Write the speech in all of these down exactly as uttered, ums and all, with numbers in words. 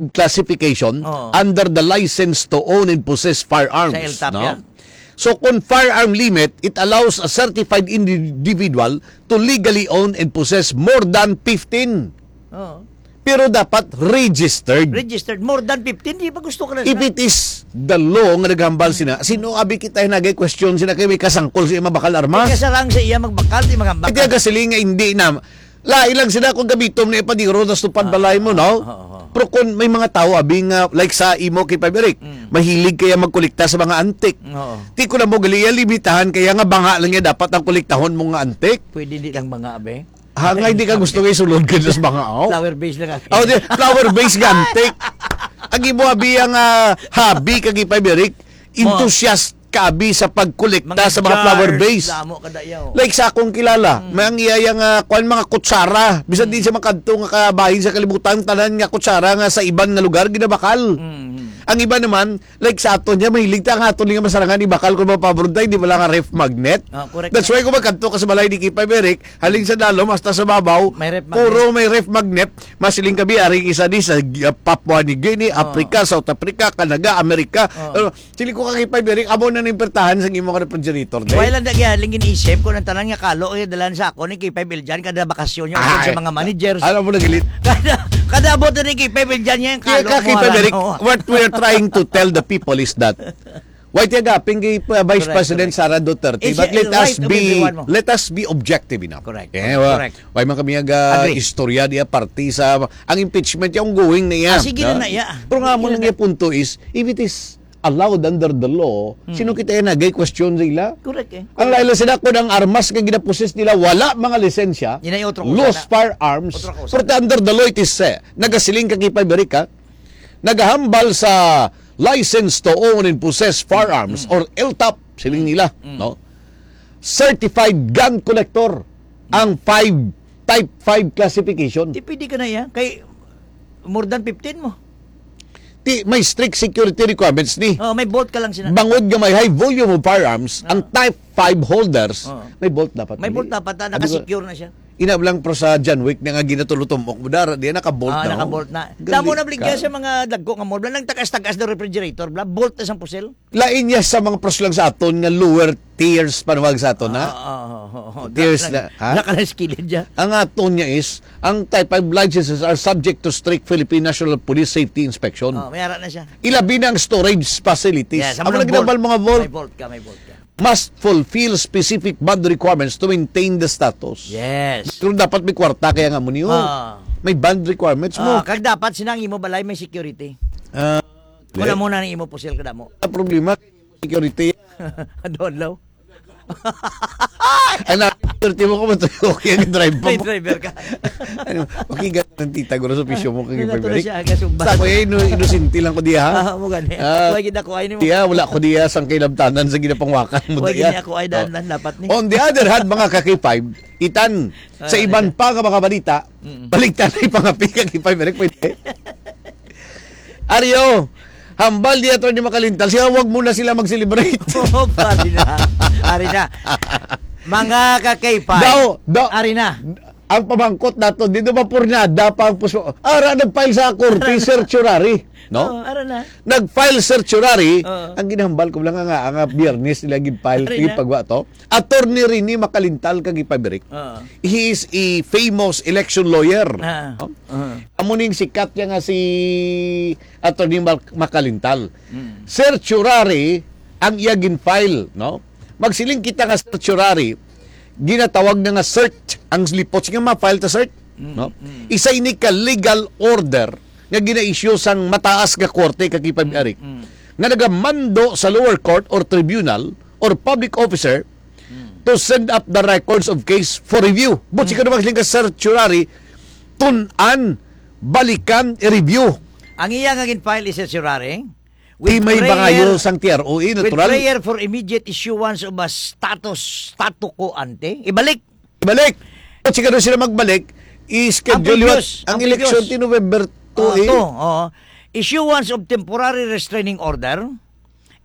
classification Oo. under the license to own and possess firearms, Sa L T A P no? yan. So, kung firearm limit, it allows a certified individual to legally own and possess more than fifteen. Oo. Pero dapat registered. Registered. More than fifteen, di ba gusto ka na If na? it is the law nga naghambal sina, sino abi kita hinagay question sina kay may kasangkol sa iya mabakal armas? Kaya sarang sa iya magbakal, di magambak Iti ka. ang kasiling nga hindi na. Lain lang sila kung gamitom na ipadiro tas tupad Ah, balay mo, no? ah, ah, ah. Pero kung may mga tao, abi nga, like sa imo kay Pabrik, Mm. mahilig kaya magkolekta sa mga antik. Oo. Ti ko na mo gali, iya limitahan kaya nga banga lang niya dapat ang kolektahon mo nga antik. Pwede di lang mga abe. Ha, nga hindi ka gusto nga isulod ka sa mga, oh? Flower base lang ako. Oh, di, flower base nga antik. Ang imo, abi, ang, ah, hobby kag ipay, Eric, Mo. enthusiast ka, abi, sa pagkolekta Mga sa mga flower jars, base. damo ka dayaw. Like sa akong kilala, Mm. may ang iya, iya nga, kwan, mga kutsara. Bisan di Mm. siya makadto nga kabahin sa kalibutan, tanan nga kutsara nga sa iban nga lugar, ginabakal. Mm. Ang iba naman, like sa aton niya, mahilig ta ang aton nga masarangan, ibakal ko mapabrontay, di ba lang nga ref magnet? Ah, correct That's na. why kung magkadto ka sa balay ni Kipay Eric, haling sa dalom hasta sa babaw, May ref magnet. puro may ref magnet. Masiling kami, aring isa di sa, uh, Papua New Guinea, Oh. Africa, South Africa, Canada, America. Oh. Ano, sili ko kang Kipay Eric, amo na ning pertahan sa imong refrigerator, day. Wala lang na kaya, lingin isip ko ng tanan nga kalo, eh, dalan sa ako ni Kipay Biljan, kada bakasyon niya, Ah, sa mga managers. alam mo, nagilit. Kada, kada abot na ni Kipay Biljan niya, yung Kaya kalo ka, mo, Kipay Eric, ano. what we are trying to tell the people is that Why tiya gaping kay, uh, Vice Correct, President correct. Sara Duterte? Eh, But siya, let us right of be, everyone mo. let us be objective enough. Correct. Eh, wa-, Correct. why man kami nga Agree. istorya diya parte sa, ang impeachment yung ongoing na iya, Ah, sige na no? na iya. Pero nga Sige mo na lang na. yung punto is, if it is allowed under the law, Hmm. sino kita yung nagay question sa ila? Correct eh. Ang laila sila kung ang armas nga ginapossess nila, wala mga lisensya, Yun ay otro lost kusa na. firearms, Otro kusa pero na. under the law it is, eh, nagasiling ka kay Pabrik, ha? Nagahambal sa license to own and possess firearms Mm. or L T O P, siling nila, Mm. no? Certified gun collector ang five, type five classification. Di pwede ka na yan. Kay more than fifteen mo. Ti, may strict security requirements ni. Oh, may bolt ka lang sina. Bangod nga may high volume of firearms, Ah. ang type five holders, Oh. may bolt dapat May nila. bolt dapat, ah, Sabi ko, nakasecure na siya. Ina lang, pero sa John Wick na nga ginatulo-tumok mo, dara, di, naka-bolt Ah, na, oh. naka-bolt na. Galing Damo na bligya ka. sa mga dagko nga mall. Bla, nagtagas-tagas na refrigerator, bla, bolt na sang pusil. Lain niya sa mga pros lang sa aton nga lower tiers panawag sa aton, ha? Ah, ah, ah, ah, ah. Tiers Naka-, na, ha? naka-skillet siya. Ang aton niya is, ang type five licenses are subject to strict Philippine National Police safety inspection. Oh, may ara na siya. Ilabi na ang storage facilities. Yes, Ang ang mga mga ginambal, vault. mga vault. May vault ka, may vault ka. must fulfill specific bond requirements to maintain the status. Yes. Pero dapat may kwarta kaya nga mo niyo. Ah. May bond requirements mo. Ah, kag dapat sinang imo balay may security. Ah, Wala correct. mo na ni imo pusil kada mo. Ang problema, security. Adlaw-adlaw. Ang na-, security mo ko, matuyo, okay, ang drive pa May mo. driver ka. Ano, okay, ganun ang tita, guro, sa pisyo mo, kay Wala to na Pabrik. siya, aga sumba. Sa ako, eh, ino-, inosente lang ko diya, ha? Ah, mo gani. Ah, Wala gid ako, ay, ni mo. diya, wala ko diya sang kailabtanan sa ginapangwakan mo Wala diya. gid ako, ay, Oh. daan lang dapat ni. On the other hand, mga ka-K five, itan, Ah, sa iban yeah. pa nga mga balita, Mm. baliktan na yung pangapi ka, K five, Eric, pwede. Ario, hambal di Attorney Makalintal, siya, wag muna sila mag-celebrate. Oh, pari na. Ari na. Mga ka-K five. Daw, daw, Ari na. ang pamangkot nato, dito ba purnada pa ang puso? Ara, nag-file sa korte, Ara na. certiorari, no? Oh, ara na. Nag-file certiorari, Oo. ang ginahambal ko lang nga, nga Biyernes nila gin-file, Ari na. gipagwa to. Attorney Rene Makalintal kag ipabirik. Oo. He is a famous election lawyer. Ah. No? Oo. Amo ning sikat niya nga si Attorney Mal-, Makalintal. Mm. Certiorari ang iya gin-file, no? Magsiling kita nga certiorari, ginatawag na nga cert ang lipot. Sige, ma-file ta, cert, Mm, no? mm. Isa ini ka legal order nga gina-issue sang mataas nga korte, kag ipag-arik, Mm, mm. nga nagamando sa lower court or tribunal or public officer Mm. to send up the records of case for review. But Mm. siguro magsiling ka, certiorari, tun-an, balikan, i-review. Ang iya nga gin-file is certiorari. Di With may prayer, bangayo sang T R O A, with natural. prayer for immediate issuance of a status, statu quo ante. Ibalik. Ibalik. At siguro sila magbalik, i-schedule Ang previous, yun. Ang ang election previous. ti November two, Ah, eh. two, oo. Issuance of temporary restraining order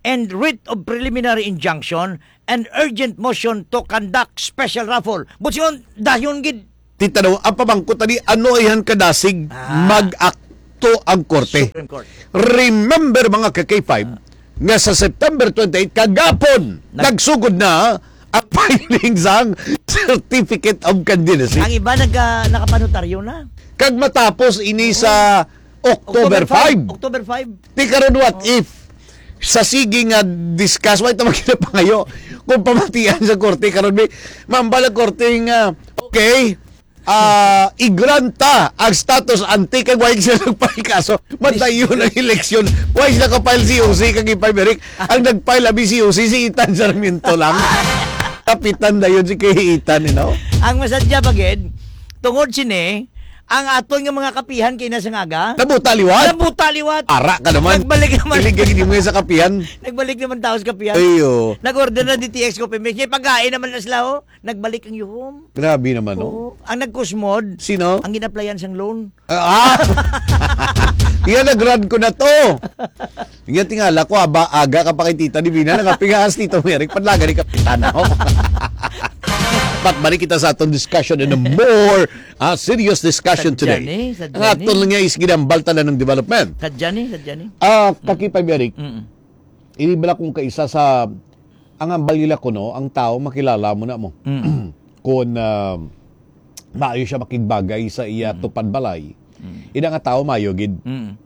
and writ of preliminary injunction and urgent motion to conduct special raffle. But siyon, dayon gid. Titanaw, ang pamangkot ani, ano ayhan kadasig Ah. mag-act to ang korte. Supreme Court. Remember, mga ka-K five, nga sa September twenty-eight, kagapon, Nag- nagsugod na ang filing sang Certificate of Candidacy. Ang iba nagka-, nakapanotaryo na. Kag matapos ini sa October five. October five. Ti karon, what if sa sige nga discuss, wa ito magkinapangayo kung pamatian sa korte karon, may mambal ang korte nga, okay, ah, i-grant ta ang status ante kay wala sila nagpahikaso. Madayon ang eleksyon. Wala sila ka-file C O C kag ipay Eric. Ang nag-file abi C O C si Ethan Sarmiento lang. Kapitan dayon si kay Ethan, you know? Ang masadya pa gid, tungod sini, ang aton nga mga kapihan kay nasangaga. Nabuta liwat. Nabuta liwat. Ara ka naman. Nagbalik naman. Ilig ka gid mo sa kapihan. Nagbalik naman tao sa kapihan. Ayo. Nag-order na D T X Coffee Mix. Kay pagkain naman na sila, oh. Nagbalik ang yuhom. Grabe naman, no? Oo. Ang nagkusmod, Sino? Ang ginaplayan sang loan. Ah, ah! Iya, nag-run ko na to. Iya, tingala ko, aba, aga ka pa kay Tita Divina, nangapingaas Tito Merrick, padlaga ni Kapitana, oh. But balik kita sa atong discussion in a more, ah, serious discussion Sadya today. ni, sadya Ang ni. aton nga is ginambal tanan ng development. Sadya ni, sadya ni. Ah, Kakipay Merrick, Mm. ini bala kung kaisa sa, ang hambal nila kuno, ang tao makilala mo na mo. Mm. Kung, ah, maayo siya makigbagay sa iya Mm. tupad balay. Mm. Ina nga tao maayo gid. Mm.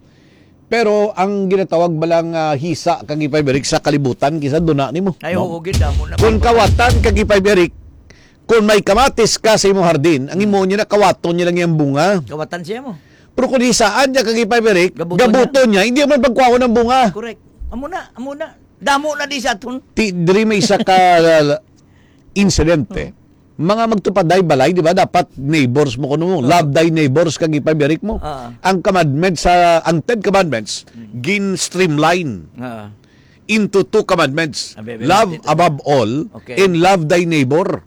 Pero ang ginatawag bala nga hisa kag ipay Eric sa kalibutan, kisa duna nimo, Ay, no? oo, gid, amo na Kung ba? kawatan kag ipay Eric, kung may kamatis ka sa imong hardin, ang Mm. imo niya na kawaton niya lang yung bunga. Kawatan siya mo. Pero kung hisaan niya kag ipay Eric, Gabuton gabuton niya. niya, hindi man pagkuhaon ang bunga. Correct. Amo na, amo na. Damo na di sa aton. Ti, diri may isa ka insidente. Oh. Mga magtupad day balay, di ba? Dapat neighbors mo kuno mo. Oh. Love thy neighbors kag ipay Eric mo. Ah. Ang commandments sa, ang Ten Commandments, Mm. gin-streamline Ah. into two commandments. Abi, abi, Love abi, abi. above all Okay. and love thy neighbor.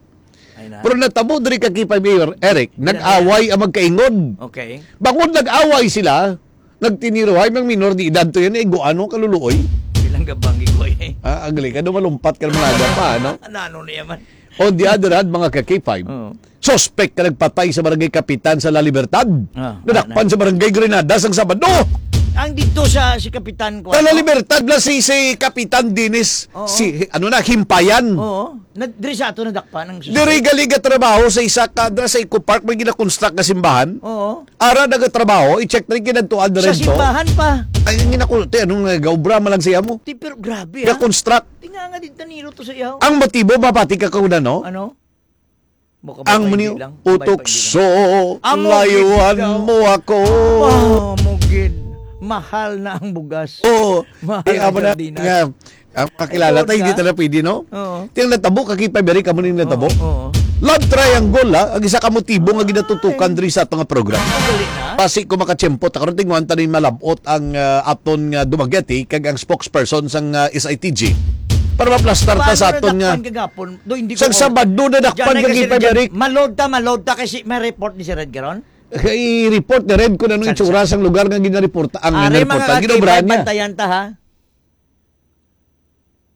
Ay na. Pero natabo diri ka kipay Mayor Eric, Bilang nag-away ang magkaingod. Okay. Bangod nag-away sila, nagtiniruhay mang minor de edad to yan, eh, guano kaluluoy. Bilang gabang gigoy, eh. Ah, agli ka, do malumpat ka ng mga aga pa, ano? Ano, ano niya man? On the other hand, mga ka-K five, Oo. suspek ka nagpatay sa barangay kapitan sa La Libertad. Ah, Nadakpan ah, sa barangay Grenadas ang Sabado. Ang dito sa, si Kapitan ko, Sa La ano? Libertad na si, si Kapitan Dennis, Oo. si, ano na, Himpayan. Oo. Na, diri sa ato nadakpan ang suspek. Diri gali gatrabaho sa isa ka, dira sa Eco Park, may ginakonstruct nga simbahan. Oo. Ara nagatrabaho, i-check na yung kinadtuan na Sa rin to. simbahan pa. Ay, ang ginakulti, anong nagaobra man lang siya mo? Ti, pero grabe, ha? Ga-construct. Tinga nga din taniro to sa iyaw. Ang motibo, mapati ka kauna, no? Ano? Baka Ang ba muni, hindi lang? Baka ba hindi lang? utukso, Amo layuan gid daw. mo ako. Oh, mo gid. Mahal na ang bugas. Oo. Mahal Eh, ang amo na sardinas. nga, ang kakilala Ayun tayo, hindi na. talaga pwede, no? Oo. Tiyang natabo, kakipay, beri ka mo ning natabo. Oo, oo. Love triangle, ha? Ang isa ka motibo nga ginatutukan Ay. diri sa ato nga program. Ang galing, ha? Basi ko makatiyempo, ta karon tinguhan ta ni malabot ang, ah, aton nga dumagyati kag ang spokesperson sang, ah, S I T G. Para maplastar ta Paano sa aton nga nadakpan kagapon? Do, hindi ko Sa ko Sabado na dakpan Diyan na kag kasi ipay dyan. Eric. Malod ta, malod ta kasi may report ni si Red Garon? Kay report ni Red kung anong Sa- itsura sa- sang lugar nga ginareporta, ang Are, mga ginareporta, ka-K five, ginobrahan niya. bantayan ta, ha?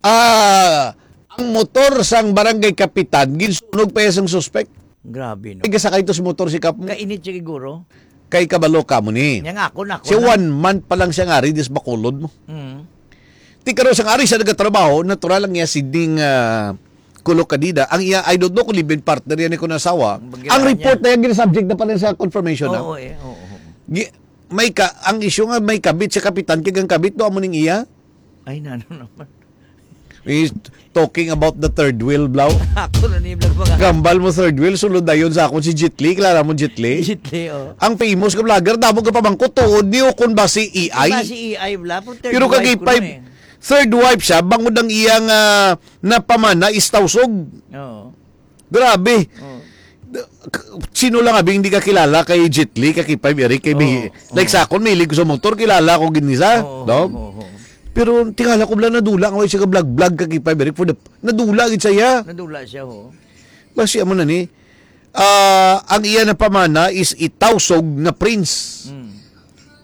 Ah, ang motor sang barangay kapitan, ginsunog pa iya sang suspek. Grabe, no? Ay, gasakay to sa motor si Kap mo. Kainit siya siguro. Kay kabalo ka mo ni. Yang ako na, ako Siya na. one month pa lang siya nga ari, dis Bacolod mo. Mm. Ti karon sang ari siya nagatrabaho, natural lang niya si Ding, ah, Kulok Kadida. Ang iya, I don't know kung live-in partner yan ni kung asawa. Ang Bagay report niya. na yan, gina-subject na pala sa confirmation, ah. Oo, eh. Oo, oo. Gi-, may ka, ang issue nga may kabit sa kapitan, kay ang kabit, do, amo ning iya. Ay, nano naman. He's talking about the third wheel, Blau. Ako na ni Blau, mga Gambal mo third wheel, sulod dayon sa akon si Jet Li. Kilala mo Jet Li? Jet Li, oh. Ang famous nga vlogger, damo ka pamangkot, tuod ni o kung ba si A I. Diba si A I, Blau? Pero third Pero wife kagipay, ko na eh. third wife siya, bangod ang iyang, ah, napamana is Tausug. Oo. Grabe. Oo. Sino lang abi hindi kakilala kay Jet Li, kay Kipay Eric, kay Oo, Bi-, like oo. sa akon, mahilig ko sa motor, kilala ko gid ni sa, Oo, no? oo, oo. Pero tingala ko bala nadula nga way siya ka vlog-vlog kay Kipay Eric for the, nadula gid siya. Nadula siya, oo. Basi amo na ni. Ah, ang iya na pamana is Itausog nga prince. Mm.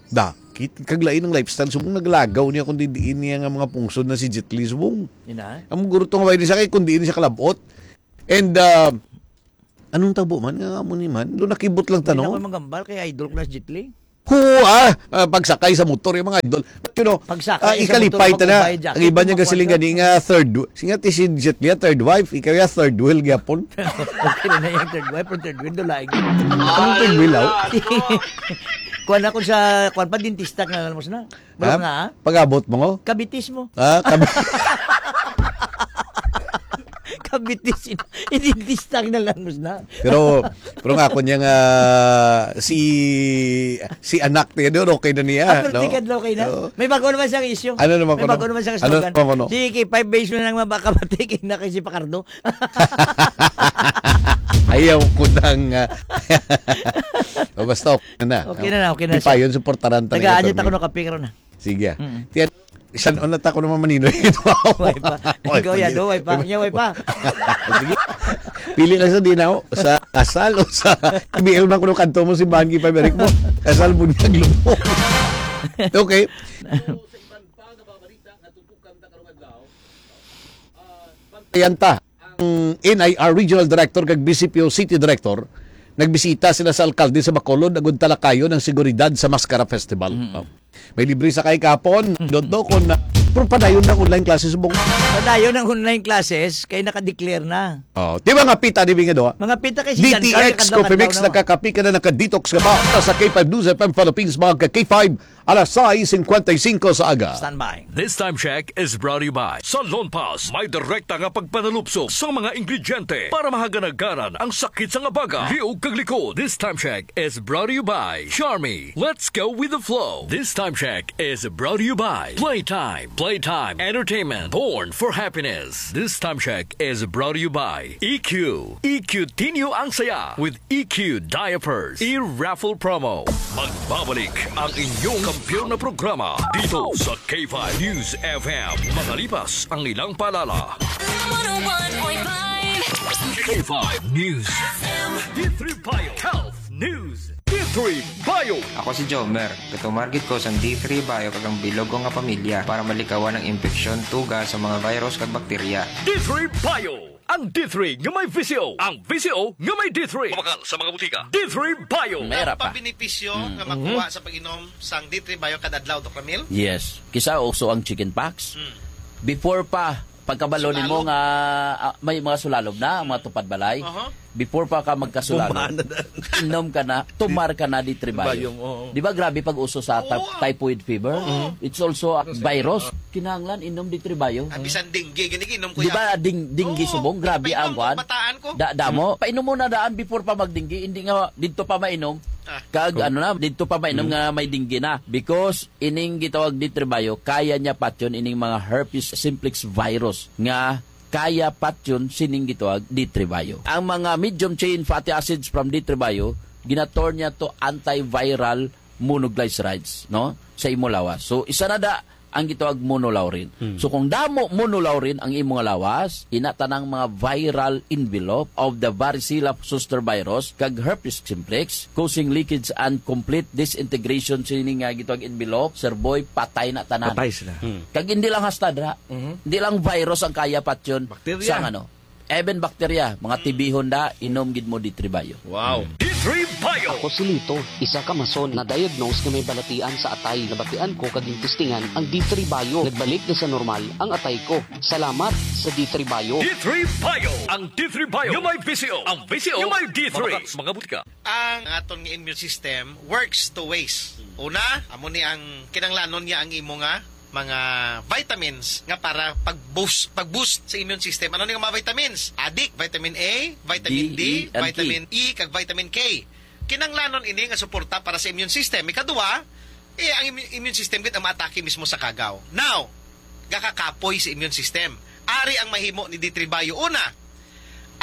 Da, kit-, kag lain ang lifestyle. Subong naglagaw niya kung diin niya nga mga pungsod na si Jet Li. Subong. Ina? Ang guro tong way ni siya kay kung diin siya kalabot. And, ah, anong tabo man? Nga mo ni man? Doon nakibot lang Hindi tanong. naman magambal kay idol ko na si Jet Li. Huwa, ah, pagsakay sa motor, yung mga idol. But, you know, Pagsakay ah, sa ikalipay motor, ta na. Mag-ubay jacket, Ang iba niya magkuwan gasiling ka. Gani nga third w-, singa ti si Jet Li, third wife, ikaw ya third wheel gyapon. Okay na na yung third wife, pero third wheel, do lain. Anong third wheel, aw? Kuwan ako sa, kuwan pa, dentista nga alam mo na. Malok Ha? na, ha? Pag-abot mo, ngo? Kabitis mo. Ah, kabi- Kabitis. Identista na lang mo na. Pero, pero nga ako niya nga si, si anak niya doon, okay na niya, Ah, pero no? Tikad lang okay na. Oo. May bago naman siyang issue. Ano naman May kuno? Bago naman siyang Ano slogan. Naman kuno? Si K five base mo lang mabaka matigin na kay si Pacardo. Ayaw ko nang, ah, o, basta okay na. Okay na na, okay na siya. Pipayon, suportaran ta na Taga-adit ito, ako eh. Nakapikro na. Sige. Mm. Tiyan, isan on na ta ko naman manino. Way pa. Way Ikaw pa, yan, yun. Do, way pa. Nya, way pa. Sige. Pili lang sa dinaw, sa kasal o sa B L man kuno kanto mo si Banggi pa, Eric mo. Kasal mo niya, lumo. Okay. Ayan ta. Ang N I R Regional Director kag B C P O City Director nagbisita sila sa alkalde sa Bacolod agud talakayon ang seguridad sa Mascara Festival. Mm. Oh. May libre sakay kahapon, Mm. Dodo, kung na, pero padayon ng online classes, bong. Padayon ng online classes, kay naka-declare na. Oh, di ba nga pita, di ba nga doha? Mga pita kay si Jan Carl, D T X Coffee Mix, kadlaw-kadlaw na. Nakakapi ka na, naka-detox ka ba? Sa K five News F M Philippines, mga ka K five, alas sais cincuenta y cinco sa aga. Standby. This time check is brought to you by Salon Pass. May direkta nga pagpanalupsok sa mga ingrediente para mahaganagaran ang sakit sa nga baga, liog kag likod. This time check is brought to you by Charmy. Let's go with the flow. This time check is brought to you by Playtime. Playtime Entertainment. Born for happiness. This time check is brought to you by E Q. E Q Tinyo ang saya with E Q Diapers. E-raffle promo. Magbabalik ang inyong kampiyon na programa dito sa K five News F M. Makalipas ang ilang paalala. One oh one point five. K five News F M. D three Bio Health News. D three Bio. Ako si Jomer. Gatumar gid ko sang D three Bio kag ang bilog ko nga pamilya para malikawan ang impeksyon, tuga sa mga virus kag bakterya. D three Bio. Ang D three nga may V C O. Ang V C O nga may D three. Mabakal sa mga butika. D three Bio. Mera pa. Ang pabenepisyo Mm. nga makuha sa pag-inom sang D three Bio kada adlaw, Doc Ramil? Yes. Kisa uso ang chicken pox. Mm. Before pa, pagkabalo nimo Sulalob. Nga, ah, may mga sulalob na, ang mga tupad balay. Aha. Before pa ka magkasulalog, Bumana na. Inom ka na, tumar ka na D three Bio. Bio, oo. Di ba grabe pag uso sa ty-, Oo. Typhoid fever? Oo. It's also a Kasi, virus. ah. Kinahanglan inom D three Bio. Ah, bisan dengue, gani inom ko Di yan. ba ding-, dengue Oo, subong? Grabe painom ang ko, kwan. Bataan ko. Da-, damo. Hmm. Painom mo na daan before pa magdinggi. Hindi nga dito pa mainom. Ah. Kag Oh. ano na, dito pa mainom Hmm. nga may dinggi na. Because ining gitawag D three Bio, kaya niya patyon ining mga herpes simplex virus nga kaya patyon sining gitawag D three Bio. Ang mga medium chain fatty acids from D three Bio, ginaturn niya to antiviral monoglycerides, no? Sa imo lawas. So, isa na da ang gitawag monolaurin. Hmm. So, kung damo monolaurin ang imo nga lawas, ina tanang mga viral envelope of the varicella zoster virus kag herpes simplex, causing leakage and complete disintegration sini nga gitawag envelope, sir boy, patay na tanan. Patay sila. Hmm. Kag hindi lang hasta dra, Mhm. hindi lang virus ang kaya patyon Bakterya. Sa ano, even bakterya, mga Hmm. tibihon da, inom gid mo D three Bio. Wow. Hmm. D three Bio. Ako si Lito, isa ka mason na diagnose nga may balatian sa atay. Nabatian ko kag gintistingan ang D three Bio. Nagbalik na sa normal ang atay ko. Salamat sa D three Bio. D three Bio. Ang D three Bio. Yung may V C O. Ang V C O. Yung may D three. Mabakal sa mga butika. Ang aton nga immune system works two ways. Una, amo ni ang kinanglanon niya ang imo nga mga vitamins nga para pag-boost, pag-boost sa immune system. Ano ni nga mga vitamins? Adik, vitamin A, vitamin D, D, E, and K. Vitamin E, kag vitamin K. Kinanglanon ini nga suporta para sa immune system. Ikaduha, eh, ang immu-, immune system gid ang maatake mismo sa kagaw. Now, gakakapoy sa immune system. Ari ang mahimo ni D three Bio. Una,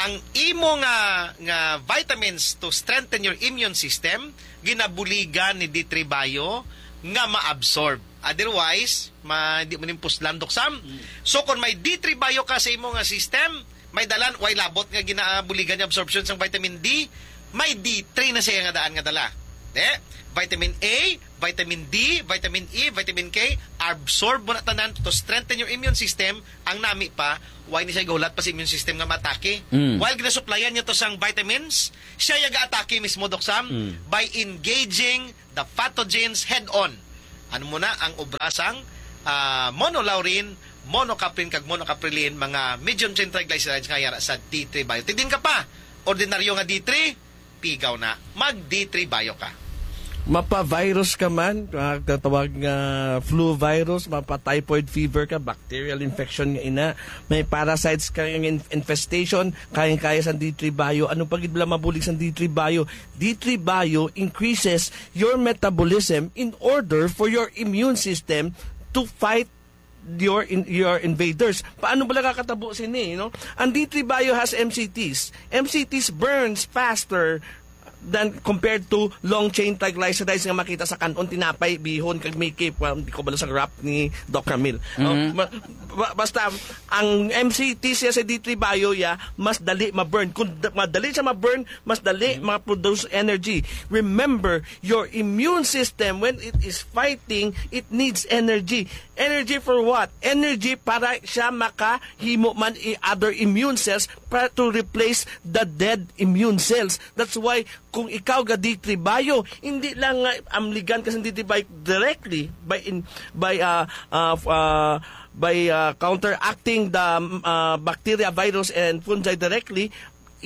ang imo nga, nga vitamins to strengthen your immune system, ginabuligan ni D three Bio nga ma-absorb. Otherwise, ma-, di mo ning puslan, Doc Sam. Mm. So, kung may D three Bio ka sa imo nga system, may dalan, way labot nga ginabuligan niya absorption sang vitamin D, may D three na siya nga daan nga dala. Eh, vitamin A, vitamin D, vitamin E, vitamin K, absorb mo na tanan to strengthen your immune system. Ang nami pa, why ni siya gahulat pa sa immune system nga matake? Mm. While ginasuplayan niya to sang vitamins, siya yung atake mismo, Doc Sam, Mm. by engaging the pathogens head-on. Ano mo na ang obra sang, ah, monolaurin, monocaprin, kag monocaprilin, mga medium chain triglycerides nga yara sa D three Bio. Tidin ka pa, ordinaryo nga D three, pigaw na. Mag D three Bio ka. Mapa-virus ka man, ah, katawag nga flu virus, mapa-typhoid fever ka, bacterial infection nga ina, may parasites ka nga in-, infestation, kayang-kaya sa D three Bio. Ano pa gid bala mabulig sa D three Bio? D three Bio increases your metabolism in order for your immune system to fight your in-, your invaders. Paano bala kakatabo sini, no? Ang D three Bio has M C Ts. M C Ts burns faster than compared to long chain triglycerides nga makita sa kanon, tinapay, bihon, kag Mickey. Well, di ko bala sa graph ni Doc Ramil. No? Mhm. Ma-, ba-, basta, ang M C T siya sa D three Bio, ya, mas dali ma-burn. Kung d-, madali siya ma-burn, mas dali Mhm. ma-produce energy. Remember, your immune system, when it is fighting, it needs energy. Energy for what? Energy para siya makahimo man i other immune cells para to replace the dead immune cells. That's why kung ikaw ga D three Bio, hindi lang nga amligan ka sa D three Bio directly by in, by, uh, uh, f-, uh, by, uh, counteracting the, uh, bacteria, virus, and fungi directly,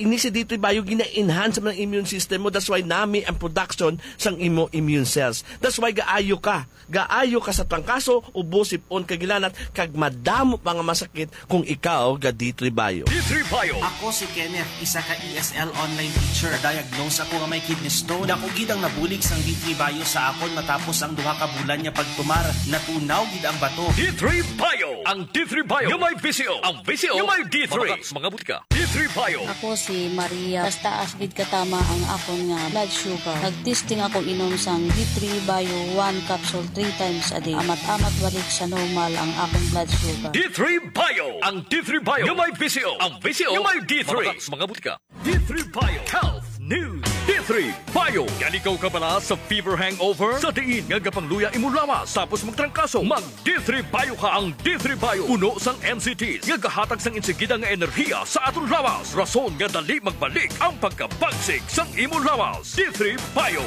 ini si D three Bio gina-enhance man ang immune system mo. That's why nami ang production sang imo immune cells. That's why gaayo ka. Gaayo ka sa trangkaso, ubo, sip-on, kag hilanat, kag madamo pa nga masakit kung ikaw ga D three Bio. D three Bio. Ako si Kenneth, isa ka E S L online teacher. Diagnose ako nga may kidney stone. Dako gid ang nabulig sang D three Bio sa akon matapos ang duha ka bulan nga pagtumar. Natunaw gid ang bato. D three Bio. Ang D three Bio nga may V C O. Ang V C O nga may D three. Mabaka sa mga butika. D three Bio. Ako si Maria. Taas-taas gid katama ang akon nga blood sugar. Nag-testing ako inom sang D three Bio one capsule three times a day. Amat-amat balik sa normal ang akon blood sugar. D three Bio. Ang D three Bio nga may V C O. Ang V C O nga may D three. Mabaka sa mga butika. D three Bio Health News. D three Bio. Yaligaw ka bala sa fever hangover? Sa diin nga gapangluya imo lawas tapos magtrangkaso, mag D three Bio ka. Ang D three Bio puno sang M C Ts nga gahatag sang insigida nga enerhiya sa aton lawas, rason nga dali magbalik ang pagkabagsik sang imo lawas. D three Bio.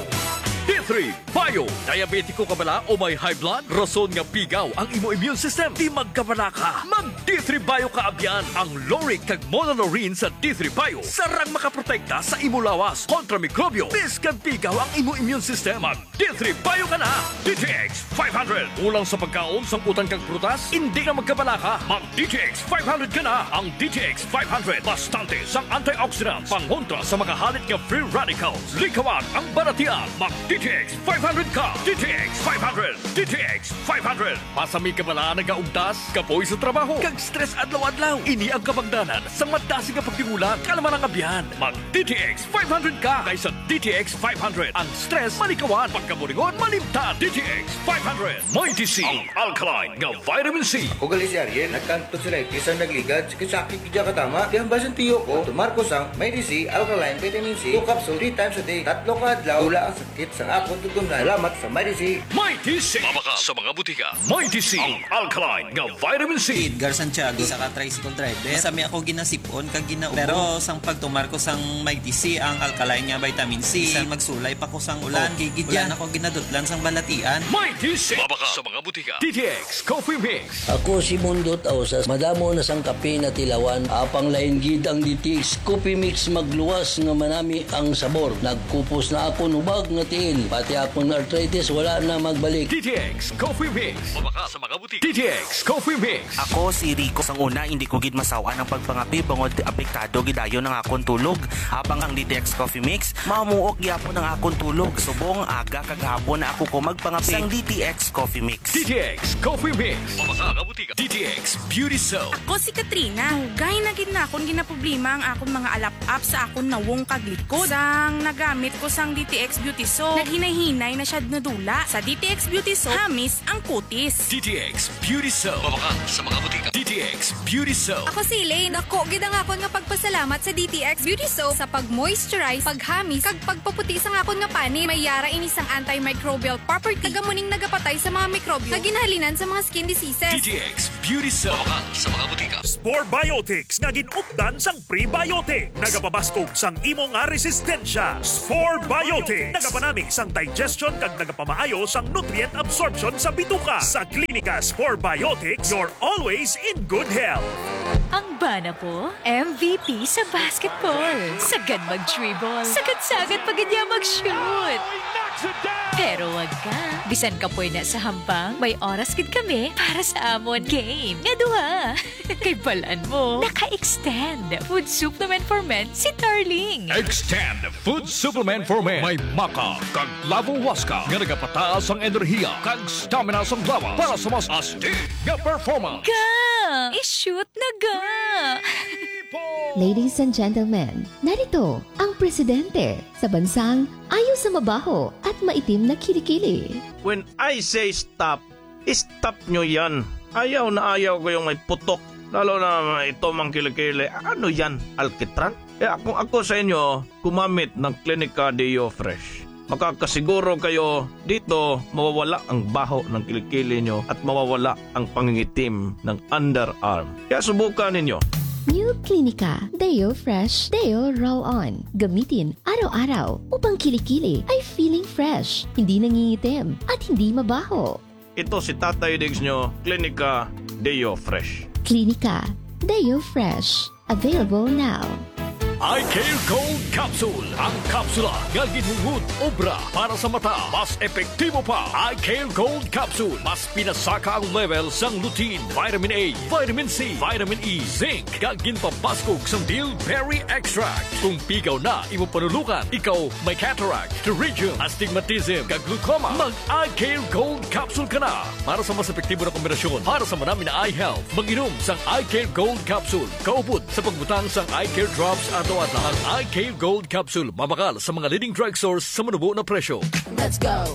D three Bio. Diabetiko ka bala o may high blood? Rason nga pigaw ang imo immune system. Di magkabalaka. Mag D three Bio ka abyan. Ang lauric kag monolaurin sa D three Bio sarang makaprotekta sa imo lawas kontra mikrobyo, biskan pigaw ang imo immune system. Mag D three Bio ka na. D T X five hundred. Kulang sa pagkaon, sangkutan kag prutas? Indi na magkabalaka. Mag D T X five hundred ka na. Ang D T X five hundred bastante sang antioxidants, pangontra sa mga halit nga free radicals. Likawan ang balatian. Mag D T X five hundred ka. D T X five hundred. D T X five hundred. Pasami ka bala nagaugtas, kapoy sa trabaho, kag stress adlaw-adlaw? Ini ang kabangdanan sang madasig nga pagdingula, kalma nga abyan. Mag D T X five hundred ka, kay sa D T X five hundred, ang stress malikawan, pagkaburingon malimtan. D T X five hundred. Mighty C, ang alkaline nga vitamin C. Ako gali si Ariel, nagkang tonsillitis ang nagligad, sakit-sakit gid katama. Kaya ang basang tiyo ko, tumar ko sang Mighty C alkaline vitamin C, two capsule, three times a day. Tatlo ka adlaw, wala ang sakit sa akon tutunlan. Salamat sa Mighty C. Mighty C. Mabaka sa mga butika. Mighty C, ang alkaline nga vitamin C. Edgar Santiago, isa ka tricycle driver. Masami ako ginasipon kag ginaubo. Pero sang pagtumar ko sang Mighty C, ang alkaline nga vitamin C, bisan magsulay pa ko sang ulan, okay gid yan. Wala na ko ginadutlan sang balatian. Mighty C. Mabaka sa mga butika. D T X Coffee Mix. Ako si Mundot Ausas. Madamo na sang kape natilawan. Apang lain gid ang D T X Coffee Mix, magluwas nga manami ang sabor. Nagkupos na akon hubag nga tiil. Pati akon arthritis wala na magbalik. D T X Coffee Mix. Mabaka sa mga butika. D T X Coffee Mix. Ako si Rico. Sang una, hindi ko gid masaw-an ang pagpangape bangod apektado gid dayon ang akon tulog. Habang ang D T X Coffee Mix, mamuok gyapon ang akon tulog. Subong aga kag hapon na ako ko magpangape sang D T X Coffee Mix. D T X Coffee Mix. Mabaka sa mga butika. D T X Beauty Soap. Ako si Katrina. Dugay na gid na akon ginaproblema ang akon mga alap-ap sa akon nawong kag likod. Sang nagamit ko sang D T X Beauty Soap, Hinay-hinay na siya nadula. Sa D T X Beauty Soap, hamis ang kutis. D T X Beauty Soap. Mabakal sa mga butika. D T X Beauty Soap. Ako si Elaine. Dako gid ang akon nga pagpasalamat sa D T X Beauty Soap sa pag-moisturize, paghamis, kag pagpaputi sang akon nga panit. May yara ini sang antimicrobial property. Taga mo ning nagapatay sa mga mikrobyo nga ginahalinan sa mga skin diseases. D T X Beauty Soap. Mabakal sa mga butika. Spore Biotics nga gin-updan sang prebiotic. Nagapabaskog sang imo nga resistensya. Spore Biotics. Nagapanami sang digestion kag nagapamaayo sang nutrient absorption sa bituka. Sa Klinika Spore Biotics, you're always in good health. Ang bana po, M V P sa basketball. Sagad mag-dribble. Sagad-sagad pa gid niya mag-shoot. Pero wag ka. Bisan kapoy na sa hampang, may oras gid kami para sa amon game nga duha. Kay balan mo, naka-extend food supplement for men si Darling. Extend food supplement for men. May maca kag lavo huasca nga nagapataas ang enerhiya kag stamina sang lawas para sa mas astig nga performance. Ga! I-shoot na ga! Ladies and gentlemen, narito ang presidente sa bansang ayo sa mabaho at maitim na kilikili. When I say stop, stop nyo yan. Ayaw na ayaw ko yung may putok. Lalo na ito mang kilikili. Ano yan? Alkitran? Kaya kung ako sa inyo, gumamit ng Clinica Deo Fresh. Makakasiguro kayo dito mawawala ang baho ng kilikili nyo at mawawala ang pangingitim ng underarm. Kaya subukan ninyo. New Clinica Deo Fresh Deo Roll On. Gamitin araw-araw upang kilikili ay feeling fresh, hindi nangingitim, at hindi mabaho. Ito si Tatay Diggs nyo, Clinica Deo Fresh. Clinica Deo Fresh. Available now. Eye Care Gold Capsule, ang kapsula nga ginhunghod obra para sa mata. Mas epektibo pa, Eye Care Gold Capsule. Mas pinasaka ang level sang lutein, vitamin A, vitamin C, vitamin E, zinc, kag ginpabaskog sang bilberry extract. Kung pigaw na imo panulukan, ikaw may cataract, pterygium, astigmatism, kag glaucoma, mag Eye Care Gold Capsule ka na para sa mas epektibo na kombinasyon para sa manami na eye health. Mag-inom sang Eye Care Gold Capsule kaupod sa pagbutang sang Eye Care Drops adlaw-adlaw. Ang Eye Care Gold Capsule mabakal sa mga leading drugstores sa manubo na presyo. Let's go.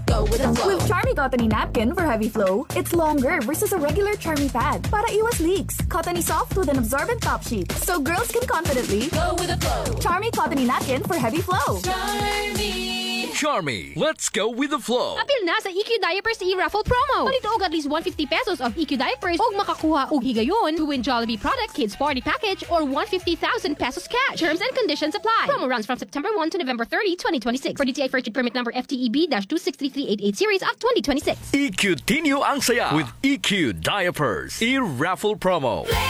Go with the flow. With Charmy Cottony Napkin for heavy flow, it's longer versus a regular Charmy pad para iwas leaks. Cottony soft with an absorbent top sheet, so girls can confidently go with the flow. Charmy Cottony Napkin for heavy flow. Charmy. Charmy, let's go with the flow. Apil na sa E Q Diapers e-raffle promo. Palito og at least one fifty pesos of E Q Diapers ug makakuha og higayon to win Jollibee product, kids party package, or one fifty thousand pesos cash. Terms and conditions apply. Promo runs from September one to November thirty, twenty twenty-six. For D T I first permit number F T E B dash two six three three eight eight series of twenty twenty-six. E Q Tinyo ang saya with E Q Diapers e-raffle promo. Play